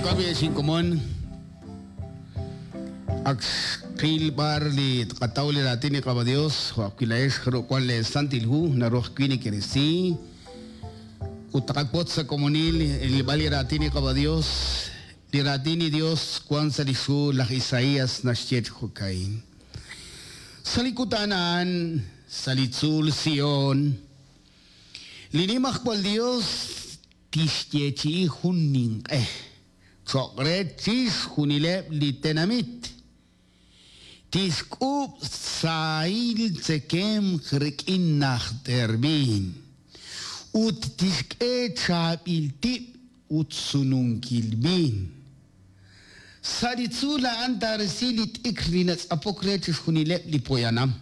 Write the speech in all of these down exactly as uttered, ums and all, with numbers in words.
Jo'kan xinkomon ak xqil b'ar li tqataw li raatin li Qaawa' Dios jo' ajwi' laa'ex jarub' wan le Santil Hu naru ajwi' nekerisi ut taqak'ot sa' komonil rilb'al li raatin li Qaawa' Dios li raatin li Dios wan sa' li xhu laj Isaías naxye chi jo'ka'in sa' li kutan a'an sa' li tzuul Sion li nimajwal Dios tixyeechi'i jun ninq'e cho'q re chixjunileb' li tenamit tixk'uub' sahil tzekemq rik'in najter viin ut tixk'e chaab'il tib' ut sununkil viin sa' li tzuul a'an taarisi li t'ikr li natz'apok re chixjunileb' li poyanam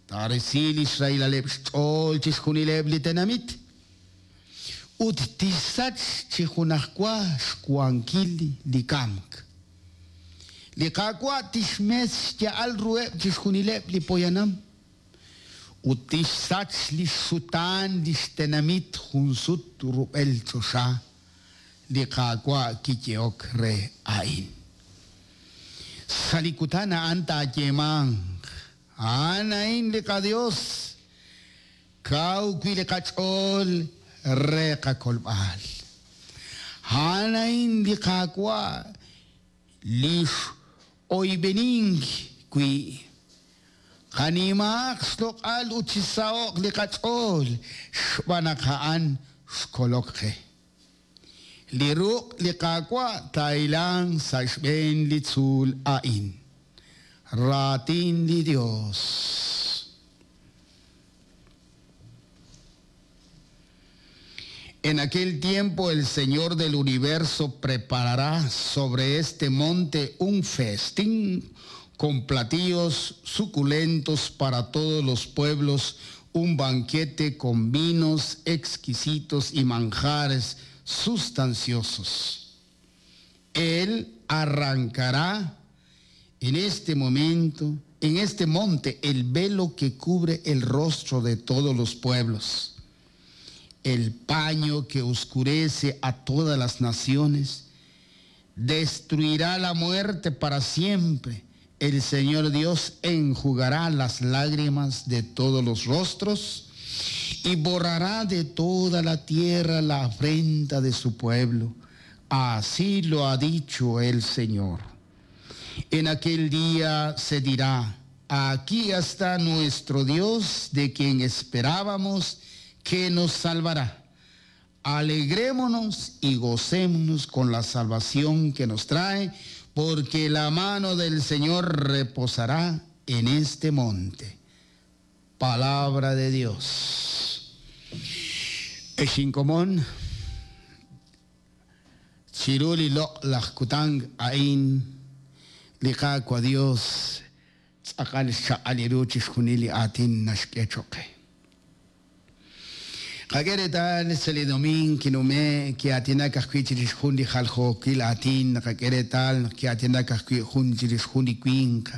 taarisi li xrahilaleb' xch'ool chixjunileb' li tenamit ut tixsach chi junajwa xwankil li kamk li Qaawa' tixmes xya'al ruheb' chixjunileb' li poyanam ut tixsach li xsutaan li xtenamit junsut rub'el choxa li Qaawa' kiyehok re a'in sa' li kutan a'an taayeemanq a'an a'in li qaDios kaw wi' li qach'ool re qakolb'al a'an a'in li Qaawa' li x'oyb'enink wi' qanimaaq xloq'al ut chisaho'q li qach'ool xb'aan naq a'an xkolok qe li ruq' li Qaawa' taahilanq sa' xb'een li tzuul a'in raatin li Dios. En aquel tiempo el Señor del universo preparará sobre este monte un festín con platillos suculentos para todos los pueblos, un banquete con vinos exquisitos y manjares sustanciosos. Él arrancará en este momento, en este monte, el velo que cubre el rostro de todos los pueblos, el paño que oscurece a todas las naciones, destruirá la muerte para siempre. El Señor Dios enjugará las lágrimas de todos los rostros y borrará de toda la tierra la afrenta de su pueblo. Así lo ha dicho el Señor. En aquel día se dirá, aquí está nuestro Dios de quien esperábamos que nos salvará. Alegrémonos y gocémonos con la salvación que nos trae, porque la mano del Señor reposará en este monte. Palabra de Dios. Exinkomon, chiruli loq laj kutang a'in li Qaawa' Dios tz'aqal xchaq'al ru chixjunil li aatin naxk'e cho'q qe. Qak'e reetal sa' li domiin kinume' ki'aatinak ajwi' chirix jun li jaljookil aatin naqak'e reetal naq ki'aatinak ajwi' jun chirix jun li winq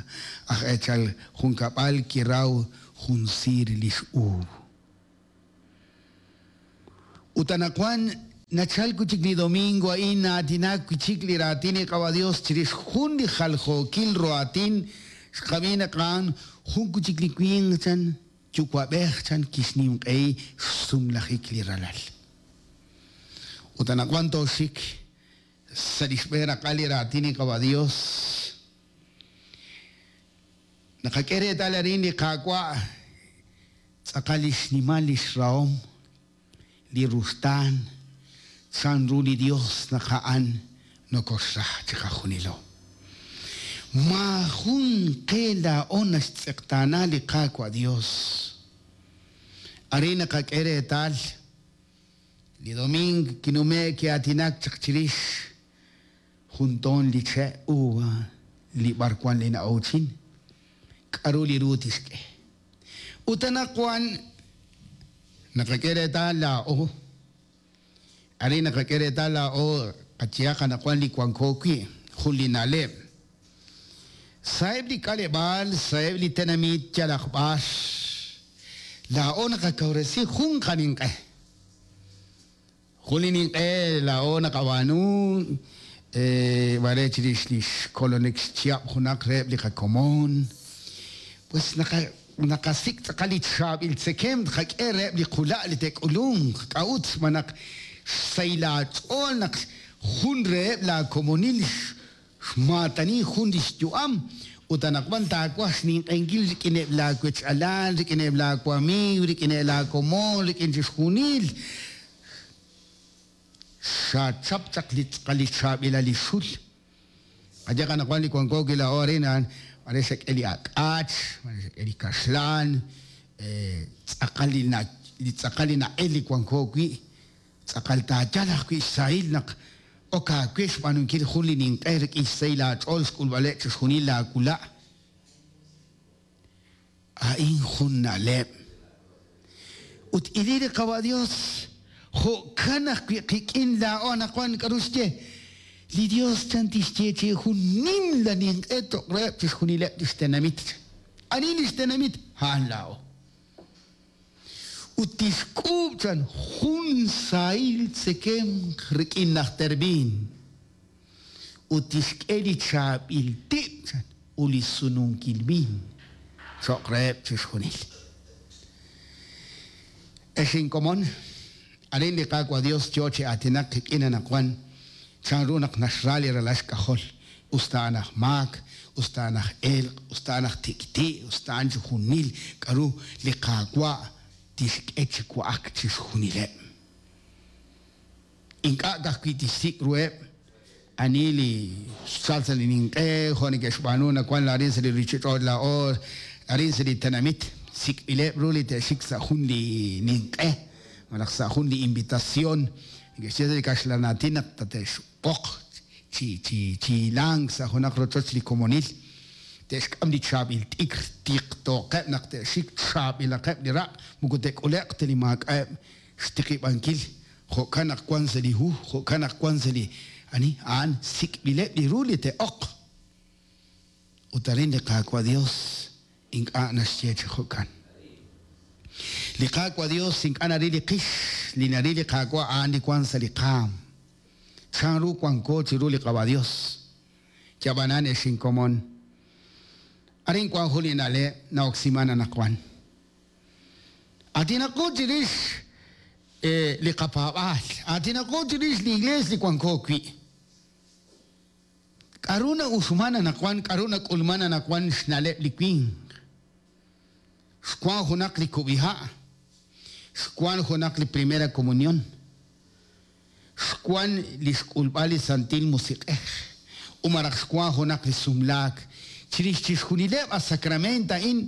aj eechal junkab'al kiraw jun siir li x'uub. Ut anaqwan nachal wi' chik li domingo a'in na'aatinak wi' chik li raatin li Qaawa' Dios chirix jun li jaljookil ru aatin xqab'i naq a'an jun wi' chik li winq chan yuwa'b'ej chan kixninq'ehi xsumlajik li ralal. Ut anaqwan tooxik sa' li xb'een raqal li raatin li Qaawa' Dios naqak'e reetal arin li Qaawa' tz'aqal li xnimal li xrahom li ruxtaan chan ru li Dios naq a'an nokoxra chiqajunilo. Maajun qe laa'o naxtz'eqtaana li Qaawa' Dios. Arin naqak'e reetal li domingo kinume' ki'aatinak chaq chirix jun toon li che' uva li b'arwan li na'uuchin k'aru li ru tixk'e. Ut anaqwan naqak'e reetal laa'o arin naqak'e reetal laa'o qachihaq anaqwan li wanko wi' jun li na'leb'. Sa'eb' li k'aleb'aal, sa'eb' li tenamit yalaq b'ar laa'o naqakawresi jun qaninq'e. Jun li ninq'e laa'o naqab'aanu Mare chirix li xkolonik xchihab' junaq reheb' li qakomon. Pues naqasik' tz'aqal li chaab'il tzekemq tqak'e reheb' li qula' li te'k'ulunq. K'a'ut? Xb'aan naq xsahil aach'ool naq jun reheb' laakomonil xmaatani jun li xyu'am ut anaqwan taawaj xninq'ehinkil rik'ineb' laawech-alal, rik'ineb' laawamiiw, rik'ineb' laakomon, rik'in chixjunil. Xachap chaq li tz'aqal li chaab'ilal li xul. Qayehaq anaqwan li wanko wi' laa'o arin a'an mare xak'e li ak'ach, mare xak'e li kaxlan, tz'aqal li li tz'aqal li na'el li wanko wi', tz'aqal taayal ajwi' xsahil naq ok aawe xb'aanunkil jun li ninq'e rik'in xsahil aach'ool xk'ulb'aleb' chixjunil laawula'. A'in jun na'leb'. Ut ili li Qawa' Dios, jo'kan ajwi' qik'in laa'o anaqwan k'aru xye? Li Dios chan tixye chi jun nimla ninq'e cho'q reheb' chixjunileb' li xtenamit. Ani li xtenamit? A'an laa'o. Ut tixk'uub' chan jun sahil tzekemq rik'in najter viin. Ut tixk'e li chaab'il tib' chan ut li sununkil viin cho'q reheb' chixjunil. Ex inkomon, arin li Qaawa' Dios yo chi aatinak qik'in anaqwan chanru naq naxra li ralal xk'ajol, us ta a'an aj maak, us ta a'an aj elq', us ta a'an aj tik'ti', us ta a'an chixjunil k'aru li Qaawa' tixk'e chi wa'ak chixjunileb'. Ink'a' ka'ajwi' tixsik' ruheb' ani li xchal sa' li ninq'e, jo' neke'xb'aanu nawank arin sa' li ruuchich'och' laa'o, arin sa' li tenamit, sik'b'ileb' ru li te'xik sa' jun li ninq'e, malaj sa' jun li invitación. Neke'xye sa' li kaxlan aatin naq tate'xb'oq chi chi chi hilank sa' junaq rochoch li komonil. Te'xk'am li chaab'il t'ikr tiqtooqeb' naq te'xik chaab'ilaqeb' li raq' moko te'k'ule'q ta li maak'a'eb' xtiqib'ankil. Jo'kan naq wank sa' li hu, jo'kan naq wank sa' li ani a'an sik'b'ileb' li ru li te'oq. Ut arin li Qaawa' Dios ink'a' naxye chi jo'kan. Li Qaawa' Dios ink'a' naril li qix, li naril li Qaawa' a'an li wank sa' li qaam. Chanru wanko chiru li Qaawa' Dios. Yab'anan ex inkomon. Arin wank jun li na'leb' na'oksiman anaqwan. Aatinaqo chirix li qapaab'aal, aatinaqo chirix li iglees li wanko wi'. K'aru na'uxman anaqwan, k'aru nak'ulman anaqwan xna'leb' li winq. Xwank junaq li kub'iha', xwank junaq li primera comunión, xwank li xk'ulb'al li Santil Musiq'ej, ut malaj xwank junaq li sumlaak. Chirix chixjunileb' a sacramento a'in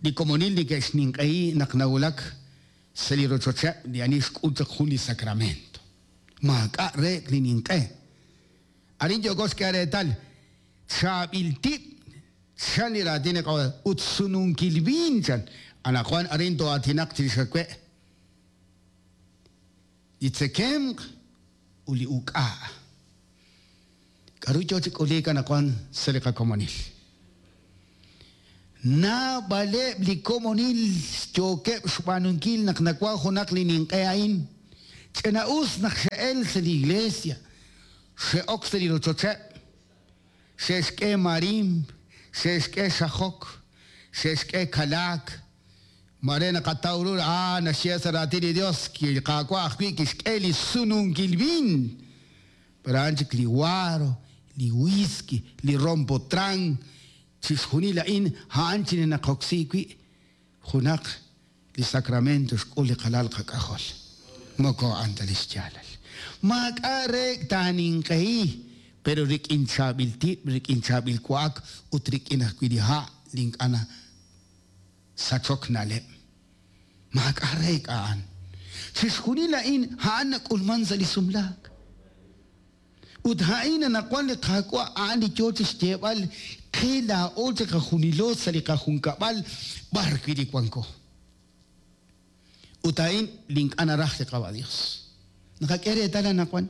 li komonil neke'xninq'ehi naq nawulak sa' li rochocheb' li ani xk'ul chaq jun li sacramento. Maak'a' reek li ninq'e. Arin yooko xk'e reetal chaab'il tib' chan li raatin li Qaawa' ut sununkil viin chan. Anaqwan arin to'aatinaq chirix awe'. Li tzekemq ut li uk'a'. K'aru yo chi k'uliik anaqwan sa' li qakomonil. Naab'aleb' li komonil yookeb' xb'aanunkil naq nawank junaq li ninq'e a'in. Ch'ina'us naq xe'el sa' li iglesia, xe'ok sa' li rochocheb', xe'xk'e marimp, xe'xk'e xajok, xe'xk'e kalaak. Mare naqataw ru ah naxye sa' raatin li Dios li Qaawa' ajwi' kixk'e li sununkil viin. Pero a'an chik li guaro, li whisky, li rompotran, chixjunil a'in a'an chi naqoksi wi' junaq li sacramento xk'ul li qalal qak'ajol. Moko a'an ta li xyaalal. Maak'a' reek taaninq'ehi, pero rik'in chaab'il tib', rik'in chaab'il wa'ak ut rik'in ajwi' li ha' li ink'a' sachok na'leb'. Maak'a' reek a'an. Chixjunil a'in a'an nak'ulman sa' li sumlaak. Ut a'in anaqwan li Qaawa' a'an li yo chi xyeeb'al qe laa'o chi qajunilo sa' li qajunkab'al b'ar wi' li wanko. Ut a'in li ink'a' naraj li Qaawa' Dios. Naqak'e reetal anaqwan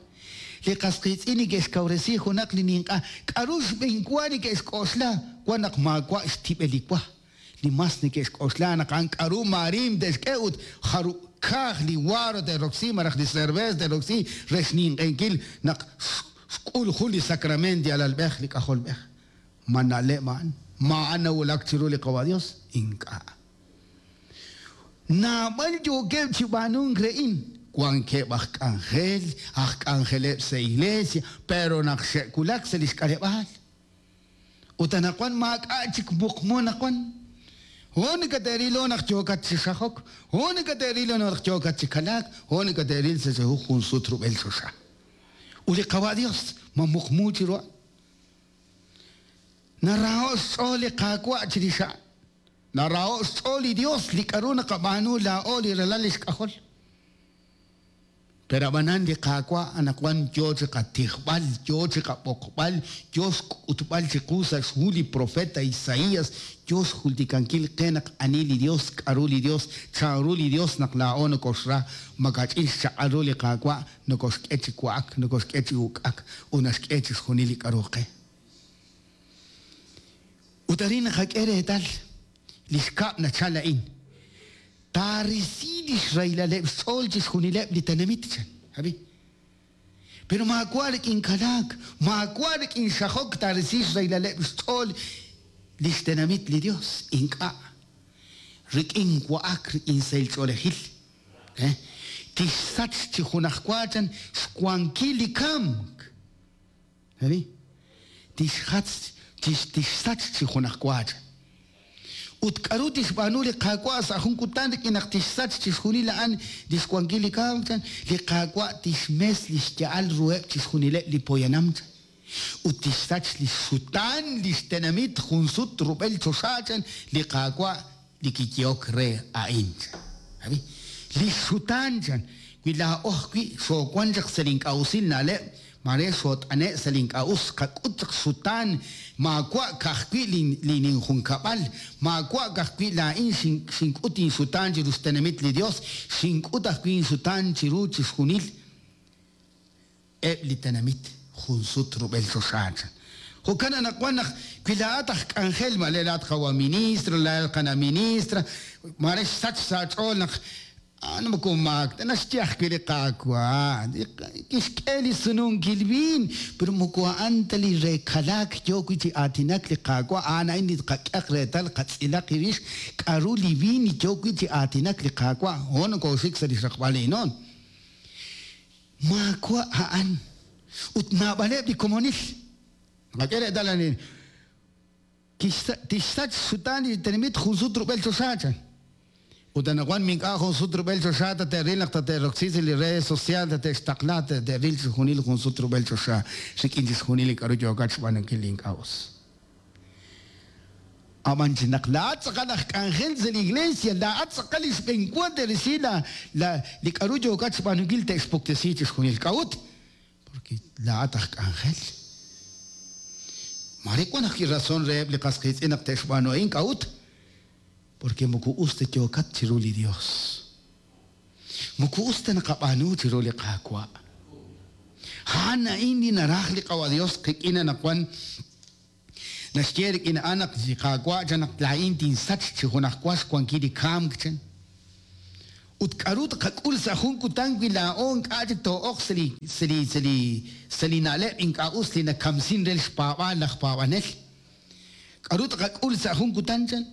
li qas qiitz'in neke'xkawresi junaq li ninq'a k'aru xb'enwa neke'xk'oxla wan naq maawa' xtib'el li wa. Li mas neke'xk'oxla naq a'an k'aru maarim te'xk'e ut jarub' kaaj li guaro te'roksi malaj li cerveza te'roksi re xninq'ehinkil naq Xk'ul jun li sacramento alalb'ej li k'ajolb'ej. Ma na'leb' a'an, ma a'an nawulak chiru li Qawa' Dios, ink'a'. Naab'al yookeb' chi b'aanunk re'in, wankeb' aj k'anjel, aj k'anjeleb' sa' iglesia, pero naq xe'wulak sa' lix k'aleb'aal. Ut anaqwan maak'a' chik muqmu anaqwan. Ho nakate'rilo naq yookat chi xajok, ho nakate'rilo naq yookat chi kalaak, ho nakate'ril sa' jun sut rub'el choxa. Ut li Qawa' Dios ma muqmu chiru a'an. Naraho' xch'ool li Qaawa' chirix a'an. Naraho' xch'ool li Dios li k'aru naqab'aanu laa'o li ralal lix k'ajol. Pero ab'anan li Qaawa' anaqwan yo chi qatijb'al, yo chi qab'oqb'al, yo xk'utb'al chiqu sa' xhu li profeta Isaías, yo xjultikankil qe naq ani li Dios, k'aru li Dios, chanru li Dios naq laa'o nokoxra, makach'in xchaq'al ru li Qaawa' nokoxk'e chi wa'ak, nokoxk'e chi uk'ak, ut naxk'e chixjunil li k'aru qe. Ut arin naqak'e reetal li xkab' nachal a'in. Taarisi lix raylaleb' xch'ool chixjunileb' li tenamit chan, abi. Pero maawa' rik'in kalaak, maawa' rik'in xajok taarisi xraylaleb' xch'ool lix tenamit li Dios, ink'a'. Rik'in wa'ak, rik'in sahil ch'oolejil. Eh? Tixsach chi junajwa chan xwankil li kamk. Abi? Tixjatz, tixsach chi junajwa chan. Ut k'aru tixb'aanu li Qaawa' sa' jun kutan rik'in naq tixsach chixjunil a'an li xwankil li kamk chan, li Qaawa' tixmes li xya'al ruheb' chixjunileb' li poyanam chan. Ut tixsach li xutaan li xtenamit jun sut rub'el choxa chan, li Qaawa' li kiyehok re a'in chan. Abi? Li xutaan chan, wi laa'o ajwi' xoowan chaq sa' li ink'a' usil na'leb', mare xot'ane' sa' li ink'a' us, qak'ut chaq xutaan, maawa' ka'ajwi' li ninjunkab'al, maawa' ka'ajwi' laa'in xink'ut inxutaan chiru xtenamit li Dios, xink'ut ajwi' inxutaan chiru chixjunil eb' li tenamit jun sut rub'el choxa chan. Jo'kan anaqwan naq wi laa'at aj k'anjel, mare laa'at qawa ministro, laa'at qana ministra, mare xsach sa' ch'ool naq ano moko maak ta naxye ajwi' li Qaawa', kixk'e li sununkil viin, pero moko a'an ta li re kalaak yo wi' chi aatinak li Qaawa', a'an a'in li qak'eq reetal qatz'ilaq irix k'aru li viin yo wi' chi aatinak li Qaawa', ho nokoxik sa' li xraqb'al inoon. Maawa' a'an ut naab'aleb' li komonil. Qak'e reetal a'in. Tixsach xutaan li tenamit jun sut rub'el choxa chan. Ut anaqwan mink'a' jun sut rub'el choxa tate'ril naq tate'roksi sa' li redes social tate'xtaqla tate'ril chixjunil jun sut rub'el choxa rik'in chixjunil li k'aru yookat xb'aanunkil li ink'a' us. Ab'an chi naq laa'at tz'aqal aj k'anjel sa' li iglesia, laa'at tz'aqal li xb'enwa te'risi la li k'aru yookat xb'aanunkil te'xpuktesi chixjunil k'a'ut. Porque laa'at aj k'anjel. Mare wan ajwi' razón reheb' li qas qiitz'in naq te'xb'aanu a'in k'a'ut. Porque moko us ta yookat chiru li Dios. Moko us ta naqab'aanu chiru li Qaawa'. A'an a'in li naraj li Qawa' Dios qik'in anaqwan. Naxye rik'in a'an naq li Qaawa' chan naq laa'in tinsach chi junajwa xwankil li kamk chan. Ut k'aru tqak'ul sa' jun kutan wi laa'o ink'a' chik too'oq sa' li sa' li sa' li sa' li na'leb' ink'a' us li nakamsin re xpaab'aal laj paab'anel. K'aru tqak'ul sa' jun kutan chan?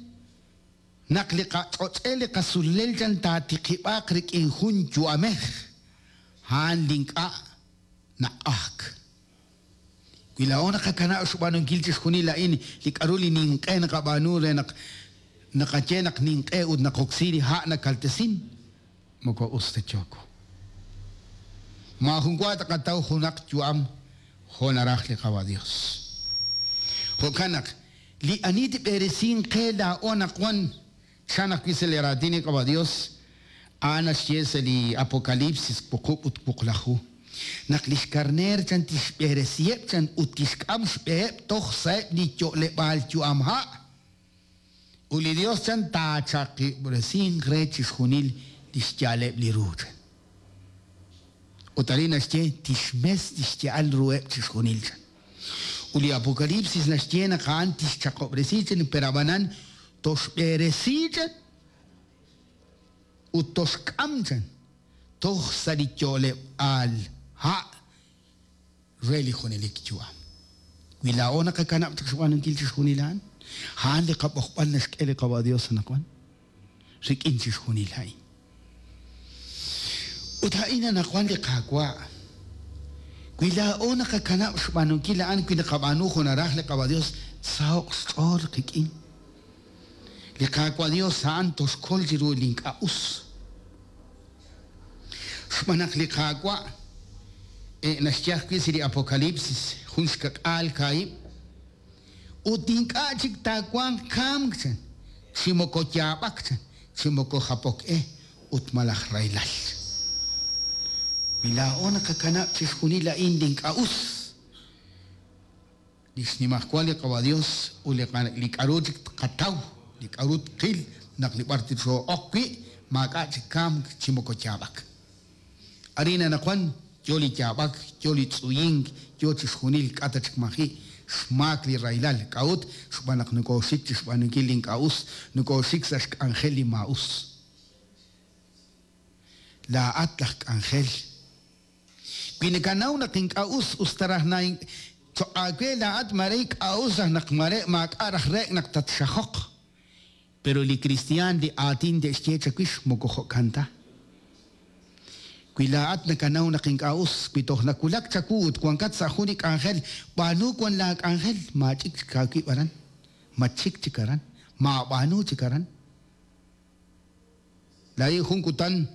Naq li qach'och'el li qasulel chan taatiqib'aq rik'in jun yu'amej, a'an li ink'a' naq'ajk. Wi laa'o naqakanab' xb'aanunkil chixjunil a'in li k'aru li ninq'e naqab'aanu re naq naqaye naq ninq'e ut naqoksi li ha' nakaltesin, moko us ta yooko. Maajun wa taqataw junaq yu'am jo' naraj li Qawa' Dios. Jo'kan naq li ani tib'eresin qe laa'o anaqwan chan ajwi' sa' li raatin li Qawa' Dios, a'an naxye sa' li Apocalipsis wuqub' ut wuqlaju. Naq li xkarneer chan tixb'eresiheb' chan ut tixk'am xb'eheb' toj sa'eb' li yo'leb'aal yu'am ha'. Ut li Dios chan taachaqib'resinq re chixjunil li xya'aleb' li ru chan. Ut arin naxye tixmes lix ya'al ruheb' chixjunil chan. Ut li Apocalipsis naxye naq a'an tixchaqob'resi chan, pero ab'anan toxb'eresi chan ut toxk'am chan toj sa' li yo'leb'aal ha' re li junelik yu'am. Wi laa'o naqakanab' chaq xb'aanunkil chixjunil a'an, a'an li qab'oqb'al naxk'e li Qawa' Dios anaqwan rik'in chixjunil a'in. Ut a'in anaqwan li Qaawa', wi laa'o naqakanab' xb'aanunkil a'an, wi naqab'aanu jo' naraj li Qawa' Dios, saho'q xch'ool qik'in. Li Qaawa' Dios a'an toxkol chiru li ink'a' us. Xb'aan naq li Qaawa' naxye ajwi' sa' li Apocalipsis jun xkak'aal kaahib', ut ink'a' chik taawanq kamk chan, chi moko yaab'ak chan, chi moko japok e ut malaj rahilal. Wi laa'o naqakanab' chixjunil a'in li ink'a' us, li xnimajwal li Qawa' Dios ut li k'a'ru chik tqataw, li k'a'ru tqil naq li b'ar tixoo'ok wi', maak'a' chik kamk chi moko yaab'ak. Arin anaqwan yo li yaab'ak, yo li tz'uyink, yo chixjunil k'ata chik maji' xmaak li rahilal. K'a'ut xb'aan naq nokooxik chi xb'aanunkil li ink'a' us, nokooxik sa' xk'anjel li maa'us. Laa'at laj k'anjel. Wi nakanaw naq ink'a' us, us ta raj na choq' aawe laa'at mare ink'a' us raj naq mare maak'a' raj reek' naq tatxajoq. Pero li kristiaan li aatin te'xye chawix moko jo'kan ta. Wi laa'at nakanaw naq ink'a' us, wi toj nawulak chawu ut wankat sa' jun li k'anjel, b'aanu wan laa k'anjel, maach'ik chik aawib' aran, machik chik aran, maab'aanu chik aran. Laa'in jun kutan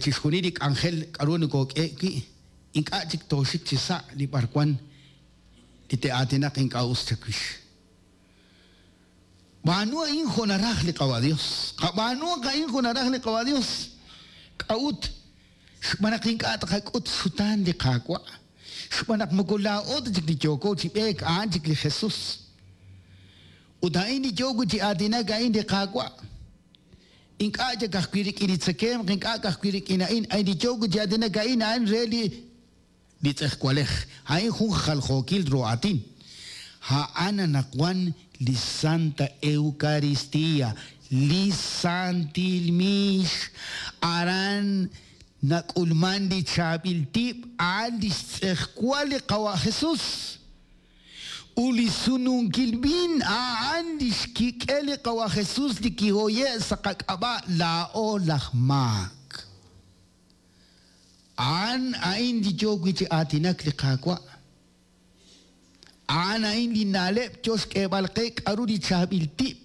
chixjunil li k'anjel k'a'ru nokook'e wi', ink'a' chik tooxik chi sa' li b'arwan li te'aatinaq ink'a' us chawix. B'aanu a'in jo' naraj li Qawa' Dios. Qab'aanu a'in jo' naraj li Qawa' Dios. K'a'ut xb'aan naq ink'a' tqak'ut xutaan li Qaawa', xb'aan naq moko laa'o ta chik li yooko chi b'eek, a'an chik li Jesus. Ut a'in li yooko chi aatinak a'in li Qaawa'. Ink'a' chik ajwi' rik'in li tzekemq, ink'a' ajwi' rik'in a'in, a'in li yooko chi aatinak a'in a'an re li li tz'ejwalej. A'in jun jaljookil ru aatin. A'an anaqwan li Santa Eucaristía, li Santil Mix, aran nak'ulman li chaab'il tib', a'an li xtz'ejwal li Qawa' Jesus. U li sununkil viin, a'an li xkik'el li Qawa' Jesus li kihoye' sa' qak'ab'a' laa'o laj maak. A'an a'in li yooko chi aatinak li Qaawa'. A'an a'in li na'leb' yo xk'eeb'al qe k'a'ru li chaab'il tib',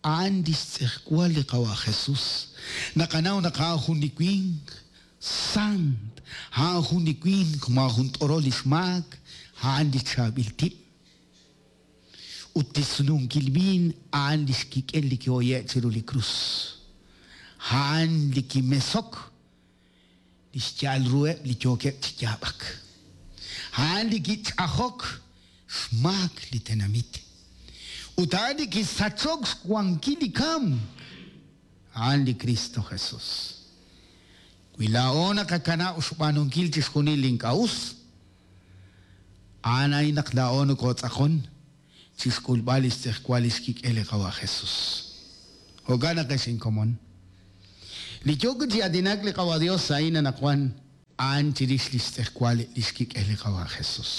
a'an li xtz'ejwal li Qawa' Jesus. Naqanaw naq a'an jun li winq sant, a'an jun li winq maajun t'orol li xmaak, a'an li chaab'il tib'. Ut li sununkil viin, a'an li xkik'el li kihoye' chiru li krus. A'an li kimesok li xya'al ruheb' li yookeb' chi yaab'ak. A'an li kich'ajok xmaak li tenamit. Ut a'an li kisachok xwankil li kamk. A'an li Cristo Jesus. Wi laa'o naqakanab' xb'aanunkil chixjunil li ink'a' us, a'an a'in naq laa'o nokootz'aqon chixk'ulb'al li xtz'ejwal li xkik'el li Qawa' Jesus. Jo'kan naq ex inkomon. Li yooko chi aatinak li Qawa' Dios a'in anaqwan a'an chirix li xtz'ejwal li xkik'el li Qawa' Jesus.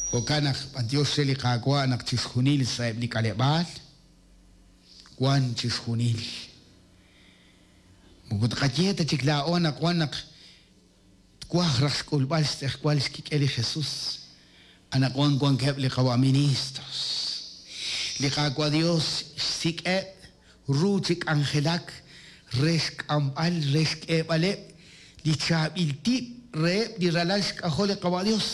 Jo'kan naq b'antiox re li Qaawa' naq chixjunil sa'eb' li k'aleb'aal, wan chixjunil. Moko tqaye ta chik laa'o naq wan naq twaj raj xk'ulb'al xtz'ejwal xkik'el li Jesus. Anaqwan wankeb' li Qawa' ministros. Li Qaawa' Dios xsik'eb' ru chi k'anjelak re xk'amb'al, re xk'eeb'aleb' li chaab'il tib' reheb' li ralal xk'ajol li Qawa' Dios.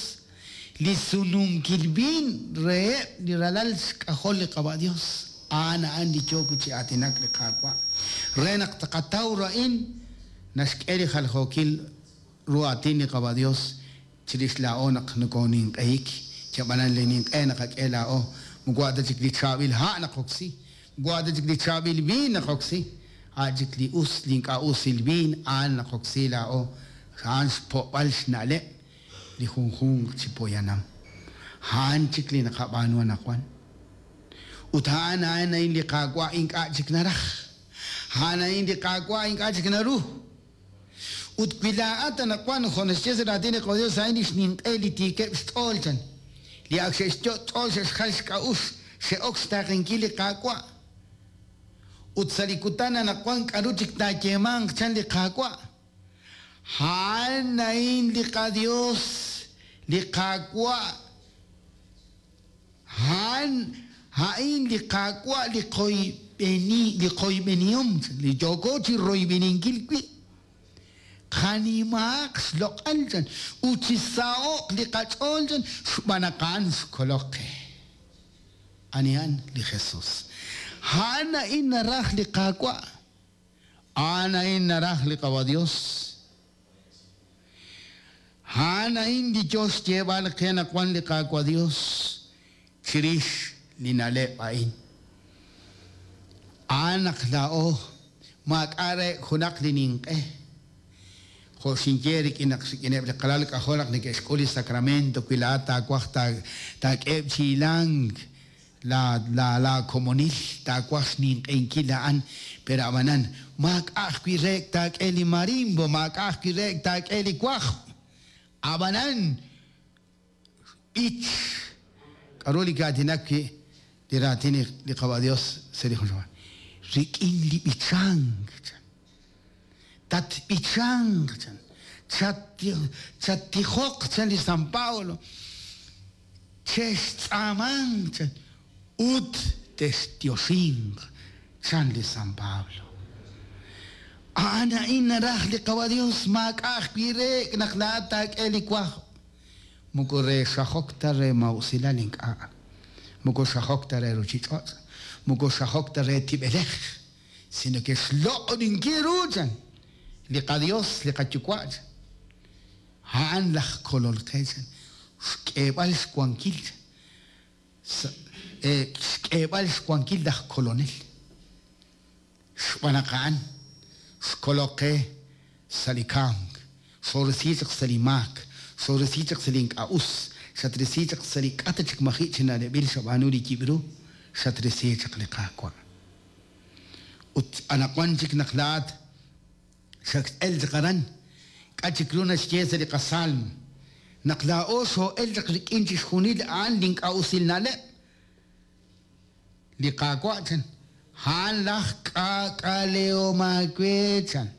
Li sununkil viin reheb' li ralal xk'ajol li Qawa' Dios. A'an a'an li yooko chi aatinak li Qaawa'. Re naq tqataw a'in naxk'e li jaljookil ru aatin li Qawa' Dios chirix laa'o naq nokooninq'ehik. Chab'anan li ninq'e naqak'e laa'o. Moko ta chik li chaab'il ha' naqoksi. Moko ta chik li chaab'il viin naqoksi. A' chik li us, li ink'a' usil viin a'an naqoksi laa'o. A'an xpo'b'al xna'leb' li junjunq chi poyanam. A'an chik li naqab'aanu anaqwan. Ut a'an a'an a'in li Qaawa' ink'a' chik naraj. A'an a'in li Qaawa' ink'a' chik naru. Ut wi laa'at anaqwan jo' naxye sa' raatin li Qadios a'in li xninq'e li tiikeb' xch'ool chan. Li ak xe'xyot' ch'ool xe'xjal xk'a'uxl xe'ok xtaaqenkil li Qaawa'. Ut sa' li kutan anaqwan k'aru chik taayeemanq chan li Qaawa'. A'an a'in li qaDios, li Qaawa'. A'an a'in li Qaawa' li qoyb'eni li qoyb'enihom li yooko chi royb'eninkil wi'. Qanimaaq xloq'al chan ut chisaho'q li qach'ool chan xb'aan naq a'an xkolok qe. Anihan li Jesús. A'an a'in naraj li Qaawa'. A'an a'in naraj li Qawa Dios. A'an a'in li Dios xyeeb'al qe naq wan li Qaawa Dios chirix li na'leb' a'in. A'an naq laa'o maak'a' re junaq li ninq'e. Jo' xinye rik'in naq rik'ineb' li qalal k'ajol naq neke'xk'ul li sacramento wi laa'at taawaj taak'eheb' chi hilank la la la komonil taawaj xninq'ehinkil a'an pero ab'anan maak'a' ajwi' re taak'e li marimbo maak'a' ajwi' re taak'e li wajb' ab'anan b'ich k'aru li kaatinak wi' li raatin li Qawa Dios sa' li jun rik'in li b'ichank chan tatb'ichanq chan chattijoq chan li San Pablo chextz'aamanq chan ut textioxinq chan li San Pablo. A'an a'in naraj li Qawa Dios maak'a' ajwi' re naq laa'at taak'e li wajb' moko re xajok ta re mawusilal ink'a' moko xajok ta re ruchich'och' moko xajok ta re tib'elej sino que xloq'oninkil ru chan li qaDios li qayuwa' chan a'an laj kolol qe chan xk'eeb'al xwankil chan xk'eeb'al xwankil laj kolonel xb'aan naq a'an xkolok qe sa' li kamk xorisi chaq sa' li maak xorisi chaq sa' li ink'a' us xatrisi chaq sa' li k'ata chik maji' chi na'leb'il xab'aanu li yib' ru xatrisi chaq li Qaawa'. Ut anaqwan chik naq laa'at xak'el chaq aran k'a' chik ru naxye sa' li qasalmo naq laa'o xoo'el chaq rik'in chixjunil a'an li ink'a' usil na'leb' li Qaawa' chan a'an laj k'aak'alehom aawe chan.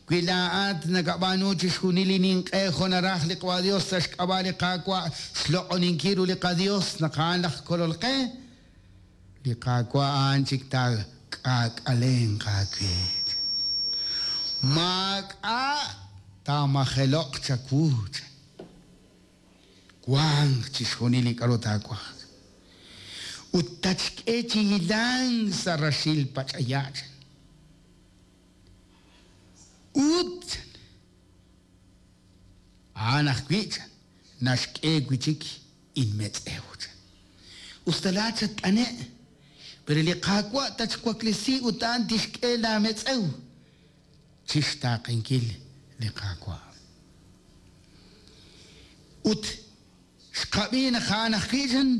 Wi laa'at nakab'aanu chixjunil li ninq'e jo' naraj li Qawa Dios sa' xk'ab'a' li Qaawa' xloq'oninkil ru li qaDios naq a'an laj kolol qe li Qaawa' a'an chik taak'aak'alenq aawe. Maak'a' taamajeloq chawu chan. Wanq chixjunil li k'aru taawaj. Ut tatxk'e chi hilank sa' raxil pach'aya' chan. Ut a'an ajwi' chan naxk'e wi' chik inmetz'ew chan. Usta laa'at xat'ane' pero li Qaawa' tatxwaklesi ut a'an tixk'e laametz'ew chixtaaqenkil li Qaawa'. Ut xqab'i naq a'an ajwi' chan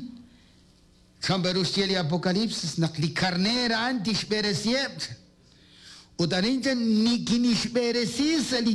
chan peru xye li Apocalipsis naq li karneer a'an tixb'eresiheb' chan. Ut arin chan nikinixb'eresi sa' li